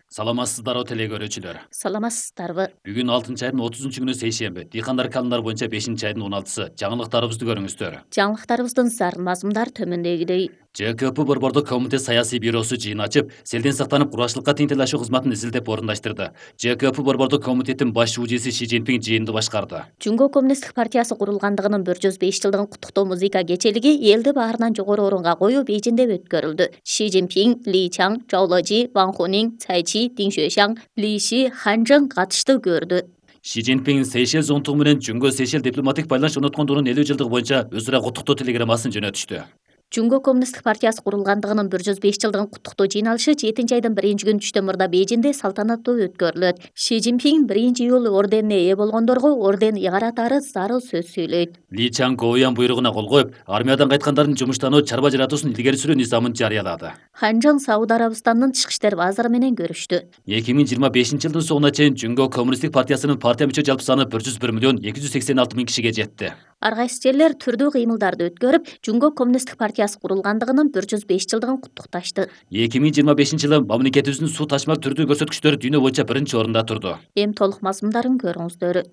Саламатсыздарбы теле көрүүчүлөр. Саламатсыздарбы. Бүгүн 6-айдын 30-күнү сейшемби. Дыйкандар календар боюнча 5-айдын 16-сы. Жаңылыктарыбызды көрүңүздөр. Жаңылыктарыбыздын зар мазмундар төмөндөгүдөй. ЖКП Борбордук комитет саясий бюросу жыйын ачып, селден сактанып кургачылыкка тең тилашуу кызматын изилдеп орундаштырды. ЖКП Борбордук комитеттин баш шүүжеси Ши Цзиньпин жыйынды башкарды. Жумго коммунисттик партиясы курулгандыгынын 105 жылдыгын куттуктоо музыка кечелиги элди баарынан жогору орунга коюп Бейжиңде өткөрүлдү. Ши Цзиньпин, Ли Чаң, Чжоу Лежи, Ван Хунин, Цай Чи, Дин Xuexiang, Ли Ши, Хан Чжэн катышты көрдү. Ши Цзиньпин Сейшел зонтугу менен Жумго Сейшел дипломатик байланыш орноткондугунун 50 жылдыгы боюнча өзара куттуктоо телеграммасын жөнөтүштү. Жумго коммунисттик партиясы курулгандыгынын 105 жылдыгын куттуктоо жыйналышы 7-айдын 1-күнү түштөн мурда Бейжиңде салтанаттуу өткөрүлөт. Ши Цзиньпин 1-июль орденине ээ болгондорго орден ыгаратары зарыл сөз сүйлөйт. Ли Чаң Гоуян буйругуна кол коюп, армиядан кайткандардын жумуштануу чарба жаратуусун илгери сүрүү низамын жарыялады. Хан Чжэн Сауд Арабистанынын тышкы иштер вазыры менен көрүштү. 2025 жылдын соңуна чейин Жумго коммунисттик партиясынын партия мүчө жалпы саны 101 миллион 286 миң кишиге жетти. Ар кайсы жерлер түрдүү кыймылдарды өткөрүп, Жумго коммунисттик партиясы курулгандыгынын 105 жылдыгын куттукташты. 2025 жылы мамлекетибиздин суу ташмак түрдүү көрсөткүчтөрү дүйнө боюнча 1-орунда турду. Эми толук мазмундарын көрүңүздөр.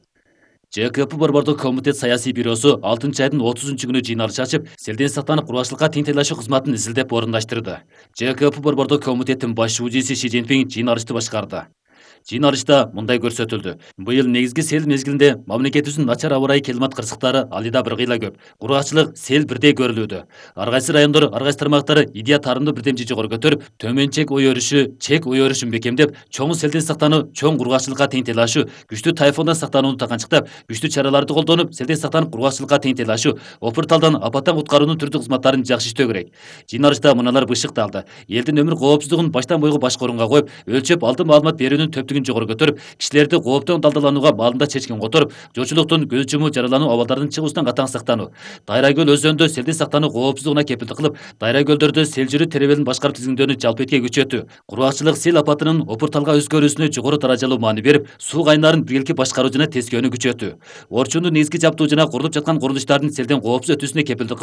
ЖКП Борбордук комитет саясий бюросу 6-айдын 30-күнү жыйналыш ачып, селден сактанып кургачылыкка тең тилашуу кызматын изилдеп орундаштырды. ЖКП Борбордук комитеттин баш шүүжеси Ши Цзиньпин жыйналышты башкарды. Жыйналышта мындай көрсөтүлдү. Быйыл негизги сел мезгилинде мамлекетибиздин начар аба ырайы климат кырсыктары алыда бир кыйла көп. Кургачылык сел бирдей көрүлүүдө. Ар кайсы райондор, ар кайсы тармактары идея тарымды бирдемчи жогору көтөрүп, төмөн чек ой өрүшү, чек ой өрүшүн бекемдеп, чоң селден сактануу, чоң кургачылыкка тең тилашуу, күчтүү тайфундан сактанууну таганчыктап, күчтүү чараларды колдонуп, селден сактанып кургачылыкка тең тилашуу, опурталдан, апаттан куткаруунун түрдүү кызматтарын жакшы иштөө керек. Жыйналышта мыналар бышыкталды. Элдин өмүр коопсуздугун баштан бойгу башкы орунга коюп, өлчөп алдын маалымат берүүнүн төптүгүн жогору көтөрүп, кишилерди кооптон далдаланууга маалында чечкен которуп, жоочулуктун көз жумуу жаралануу абалдарынын чыгуусунан катаң сактануу. Дайра көл өзөнүндө селден сактануу коопсуздугуна кепилдик кылып, дайра көлдөрдө сел жүрүү теребелин башкарып тизгиндөөнү жалпы этке күчөтүү. Кургакчылык сел апатынын опурталга өзгөрүүсүнө жогору даражалуу маани берип, суу кайнарын биргеликти башкаруу жана тескөөнү күчөтүү. Орчундун негизги жабдуу жана курулуп жаткан курулуштардын селден коопсуз өтүүсүнө кепилдик